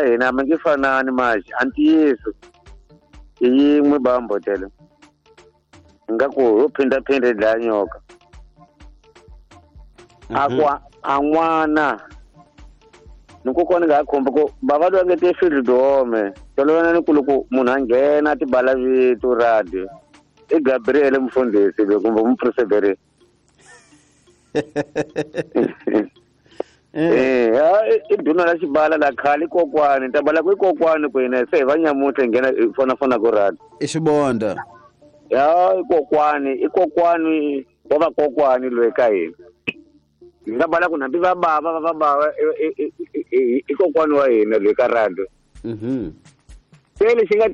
Hina mi nge fanani maji a ntiyiso i yin'we bambotele nga ku yo phindaphinda yi dlaya nyoka. A ku a n'wana ni kokwana nga ha khumbi ku bava loyi a nge te field home tolovela ni ku loko munhu a nghena a tibala vito radio i Gabriel mufundhisi loyi kumbe mupreseberi. I duna la xibala la khale kokwani ta bala ku i kokwani ku hina se hi va nyamuntlha hi nghena hi fonafona ku radio i xibonda ya i kokwani i kokwani wa vakokwani loyi ka hina hi nga bala ku hambi va bava va bava i kokwani wa hina loyi ka radio. Se lexi nga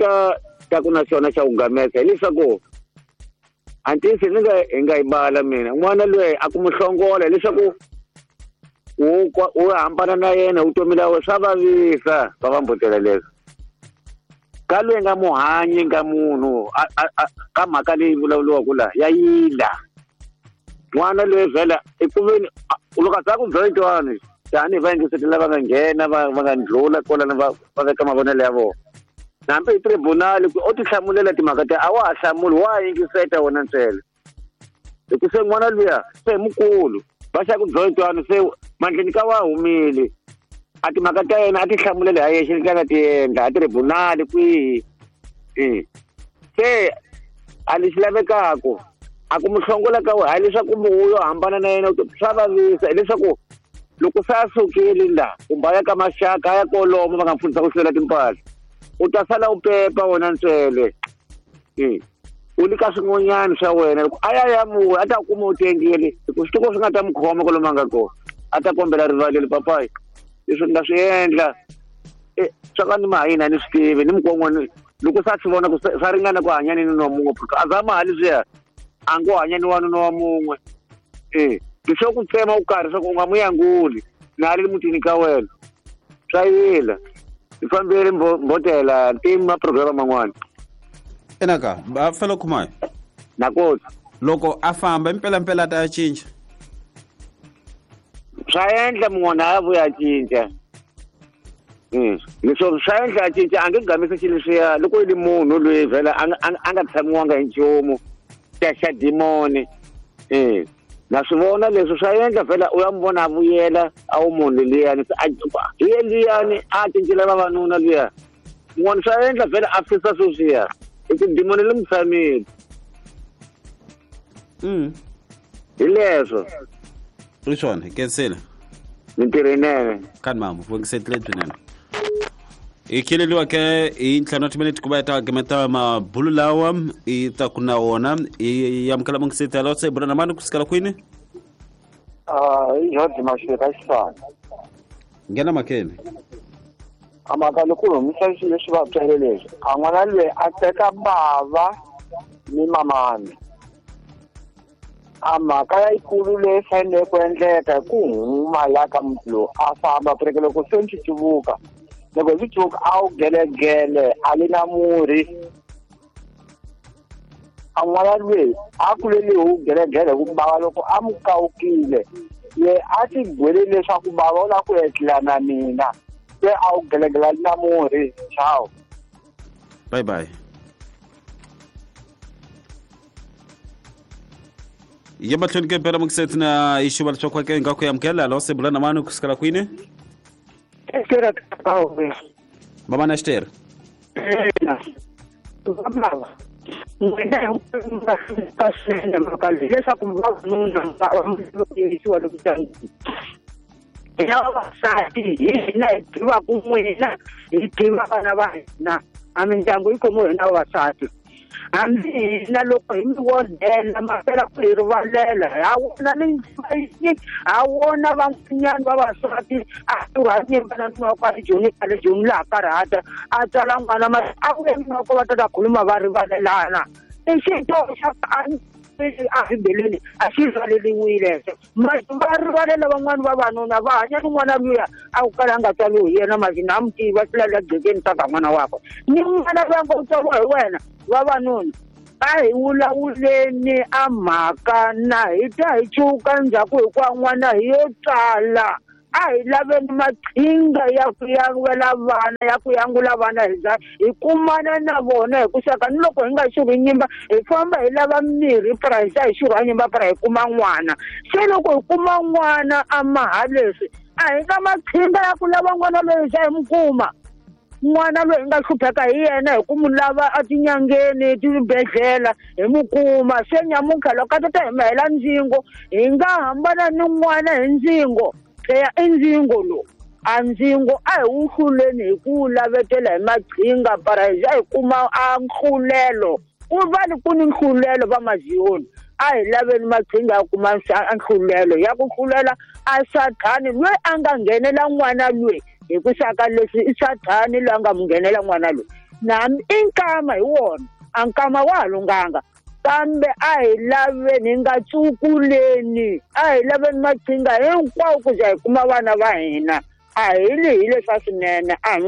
ta ku na xona xa ku gamesa hileswaku antisi ni nga hi nga yi bala mina n'wana loyi a ku mu hlongola hileswaku u hambana na yena vutomi la wena swa vavisa va va mbutela leswo ka loyi nga muhanyi nga munhu ka mhaka leyi vulavuriwaka la ya yila n'wana loyi vhela i ku veni loko a za ku byela twani tanihi vayingiseti lava nga nghena va nga ndlula kwalano va veka mavonelo ya vona hambi hi tribunal ku o tihlamulela timhaka ta a wa ha hlamuli wa yingiseta wena ntsena hi ku se n'wana luya se hi mukulu va xa ku byela twani se mandleni ka wa humile a timhaka ta yena a ti hlamulele ha yexe leti a nga ti endla a tribunal kwihi se a lexi lavekaka a ku mu hlongola ka wena hayi leswaku u yo hambana na yena swa vavisa hileswaku loko se a sukile la kumbe a ya ka maxaka a ya kolomo va nga pfunisa ku hlwela timpahla u ta sala u pepa wena ntswele u le ka swin'wanyana swa wena loko a ya ya muwe a ta kuma u tengile hi ku switoko swi nga ta mu khoma kwalomu a nga kona a ta kombela rivalelo papayi leswi ni nga swi endla swa ka ni mahayini a ni swi tivi ni mukon'wana loko se a swi vona ku swa ringana ku hanya ni nuna wa mun'we a za mali swiya a ngo hanya ni wanuna wa mun'we leswo ku tsema u karhi swa ku u nga mu yanguli na le mutini ka wena swa yila hi fambile mbotela ntimu ma programa man'wana enaka va fela khumayo nakoti loko a famba impela a ta ya cinca swa endla mun'wana a vuya a cinca leswo swa endla a cinca a nge gamisi xilo leswiya loko i ri munhu loyi vhela a nga tshamiwanga hi nchumu xa dimoni na swi vona leswi swa endla vhela u ya mu vona a vuyela a wu munhu liyani hi ye liyani a cincile vavanuna luya mun'wana swa endla vhela a fisa sweswiya hi ku dimoni li mu tshamile hi leswo i swona hi kensile mintirho yinene kani mama vongisetile byinene hi kheleliwa ke hi ntlhanu wa timinete ku va hi ta gemeta mabulu lawa i ta ku na wona i amukela mungiseti yalowo se bula na mani ku sukela kwini i George Mashika xifana nghena makeni a mhaka loko humisa swilo leswi va byele leswi a n'wana loyi a teka bava ni mamani a mhaka yikulu leyi fanele ku endleka ku huma la ka muti lowu a famba pureke loko se ni cucuvuka loko swi cuvuka a wu gelegele a li na murhi a n'wana loyi a kulele hi wu gelegele hi ku bava loko a mu kawukile ye a ti gwele leswaku bava u lava ku etlela na mina se a wu gelegele a li na murhi ciao bye bye ya mahlweni ke mpela mukiseti na ixuva leswaku ake nga ku amukela lo se bula na mani kusukela kwini mama na xitere vamava n'wina ka swinene mhaka leyi leswaku vavanuna va yisiwa loku hina vavasati hi hina hi tivaku n'wina hi tiva vana va hina a mindyangu yi khomiwe hina vavasati hambi hina loko hi mi vonela ma fela ku hi rivalela ha wona ni ha wona van'wanyana vavasati a tirha nyimba na nuna wa kwale Joni kwale Joni laha karhata a tswala n'wana ma a vuye nuna wa va ta ta khuluma va rivalelana i xidyoho xa a bibeleni a xi rivaleliwile va rivalela van'wani vavanuna va hanya ni n'wana luya a ku kala a nga tswariwi hi yena masi na mu tiva swi la gcekeni swa ka n'wana wakwe ni n'wana loyi a nga u tswariwa hi wena vavanuna a hi vulavuleni a mhaka na hi ta hi cuka ndzhaku hikuva n'wana hi yo tswala. A hi laveni maqhinga ya ku yangula vana, ya ku yangula vana hi kumana na vona hi ku saka ni loko hi nga xurhi nyimba hi famba hi lava mirhi para hi za hi xurha nyimba para hi kuma n'wana. Se loko hi kuma n'wana a maha leswi a hi nga maqhinga ya ku lava n'wana loyi hi za hi mu kuma. N'wana loyi hi nga hlupheka hi yena hi ku mu lava etinyangeni tibedhlele hi mu kuma. Se nyamuntlha loko a ta hi mahela ndzingo hi nga hambana ni n'wana hi ndzingo. Eya i ndzingo lowu, a ndzingo a hi wu hluleni hi ku wu lavetela hi maqhinga para hi za hi kuma a nhlulelo. Ku va ni ku ni nhlulelo va maziyoni, a hi laveni maqhinga ya kuma nhlulelo ya ku hlulela a sathani loyi a nga nghenela n'wana loyi hi ku saka leswi i sathani loyi a nga mu nghenela n'wana loyi. Nami i nkama hi wona, a nkama wa ha lunghanga, kambe a hi laveni hi nga tsukuleni, a hi laveni maqhinga hinkwawo ku za hi kuma vana va hina. A hi lihile swa swinene, a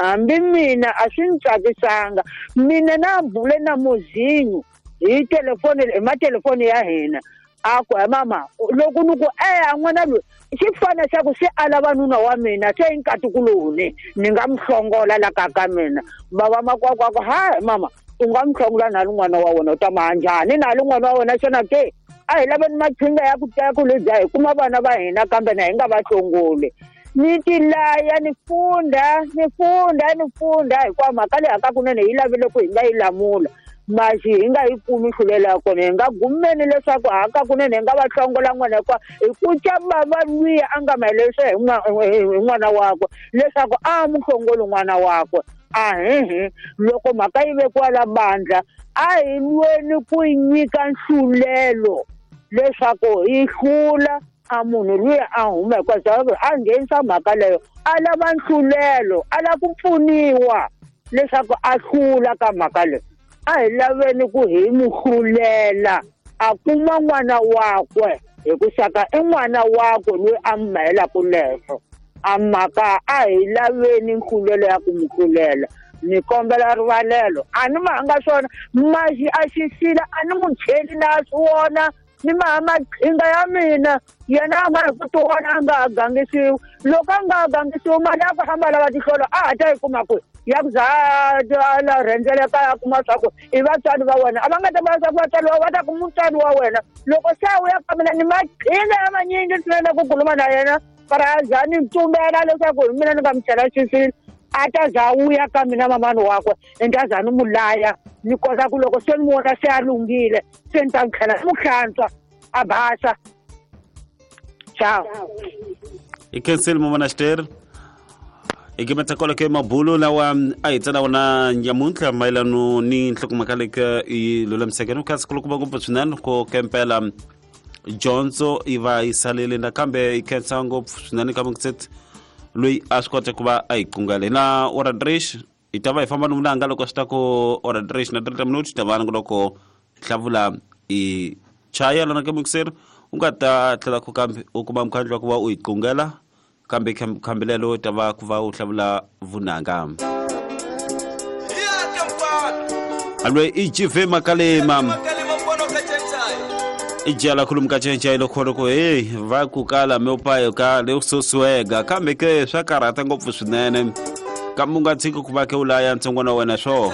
hambi mina a swi ni tsakisanga. Mina na bule na Mozinho hi telefoni, hi matelefoni ya hina, a ku he mama loko ni ku eya n'wana loyi xi fana xa ku se a lava nuna wa mina se i nkatikuloni ni nga mu hlongola la ka ka mina. Bava makwakwa ku ha mama u nga mu hlongola na rin'wana wa wena u ta ma njhani na rin'wana wa wena xana ke? A hi laveni maqhinga ya ku taya ku lebya hi kuma vana va hina kambe na hi nga va hlongoli. Ni tilaya ni funda ni funda ni funda hikuva mhaka leyi hakakunene yi lavile ku hi nga yi lamula maxi hi nga yi kumi hlulela ya kona. Hi nga gumeni leswaku hakakunene hi nga va hlongola n'wana hikuva hi ku ca bava luya a nga mahelerisa hi n'wana wakwe leswaku a mu hlongoli n'wana wakwe. Ahehe loko mhaka yi vekiwa la bandla a hi lweni ku nyika nhlulelo leswaku hi hlula a munhu luya a huma hikuva a nghenisa mhaka leyo a lava nhlulelo, a lava ku pfuniwa leswaku a hlula ka mhaka leyi. A hi laveni ku hi mu hlulela a kuma n'wana wakwe hi ku saka i n'wana wakwe loyi a mu mahelaka leswo. A mhaka a hi laveni nhlulelo ya ku mu hlulela. Ni kombela rivalelo, a ni mahanga swona maxi a xisila a ni mu cheli na swi vona ni maha maqhinga ya mina yena a nga hi ku tiwona a nga ha gangisiwi. Loko a nga ha gangisiwi mali ya ku famba lava tihlolo a ha ta yi kuma kwihi ya ku za a rhendzeleka ya kuma swa ku i vatswari va wena a va nga ta vula swa ku vatswari va ta ku mutswari wa wena. Loko se a vuya ka mina ni maqhinga ya manyingi swinene ku khuluma na yena para a za ni tsumbela leswaku hi mina ni nga mu chela xisila a ta za vuya ka mina mamani wakwe ni ta za ni mu laya ni kota ku loko se ni vona se a lunghile se ni ta tlhela ni mu hlantswa a basa. Ciao. I khensile mama Xitere. I kimetsa kwalo ke mabulo lawa a hi tsala wona nyamuntlha mayelano ni nhlokomhaka leyi yi lulamiseke ni khansi kulukumba ngopfu swinene ku kempela dyondzo yi va yi salele nakambe yi khensa ngopfu swinene ka Mokset loyi a swi kota ku va a yi qungale na Oradrish. Hi ta va hi famba ni vunanga loko swi ta ku Oradrish na 30 minutes ta va ni loko hlavula i chaya lana ka Mokset u nga ta tlhela ku kambe u kuma mukhandlu wa ku va u yi qungela kambe khambilelo ta va ku va u hlavula vunanga. Alwe i GV Makalema i jala khuluma ka cenca ilo kholo ku hey va ku kala me upayo ka le ususuega kambe ke swa karhata ngopfu swinene kambe u nga tshiki ku va ke u laya ntsongwana wa wena swo.